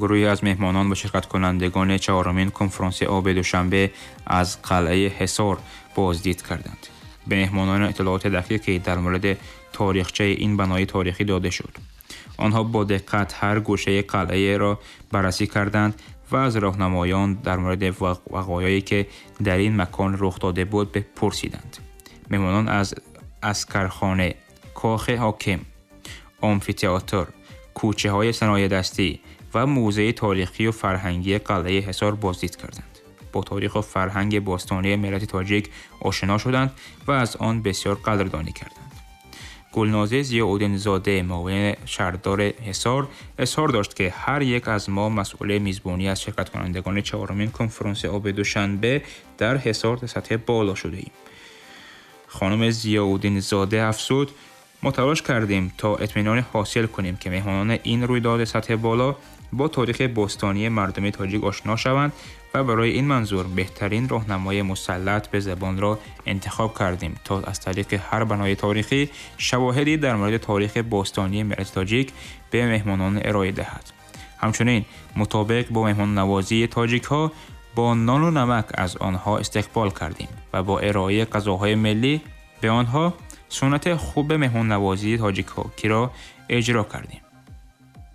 Гурӯҳе аз меҳмонон ва ширкаткунандагони чаҳорумин конфронси оби Душанбе аз қалъаи Ҳисор боздид карданд. Ба меҳмонон иттилооти дақиқе дар мавриди таърихчаи ин бинои таърихӣ дода шуд. Онҳо бо диққат ҳар гӯшаи қалъаро баррасӣ карданд ва аз роҳнамоён дар мавриди вақоее ки дар ин макон рух дода буд пурсиданд. Меҳмонон аз аскархона, кохи ҳоким, амфитеатр, кӯчаҳои саноеъдастӣ ва мӯзеи таърихӣ ва фарҳангии қалъаи Ҳисор боздид карданд. Бо таърих ва фарҳанги бостонии миллати тоҷик ошно шуданд ва аз он бисёр қадрдонӣ карданд. Гулноза Зиёуддинзода, муовини шаҳрдори Ҳисор, изҳор дошт, ки ҳар як аз мо масъули мизбонӣ аз ширкаткунандагони чаҳорумин конфронси оби Душанбе дар Ҳисор дар сатҳи боло шудаем. Хонум Зиёуддинзода афзуд: мо талош кардем то итминони ҳосил кунем, ки меҳмонони ин рӯйдоди сатҳи боло бо таърихи бостонии мардуми тоҷик ошно шаванд ва барои ин манзур беҳтарин роҳнамои мусаллат ба забонро интихоб кардем, то аз тариқи ҳар бинои таърихӣ шавоҳиде дар мавриди таърихи бостонии миллати тоҷик ба меҳмонон ироа диҳад. Ҳамчунин мутобиқ бо меҳмоннавозии тоҷикҳо бо нону намак аз онҳо истиқбол кардем ва бо ироаи ғизоҳои миллӣ ба онҳо суннати хуби меҳмоннавозии тоҷикиро иҷро кардем.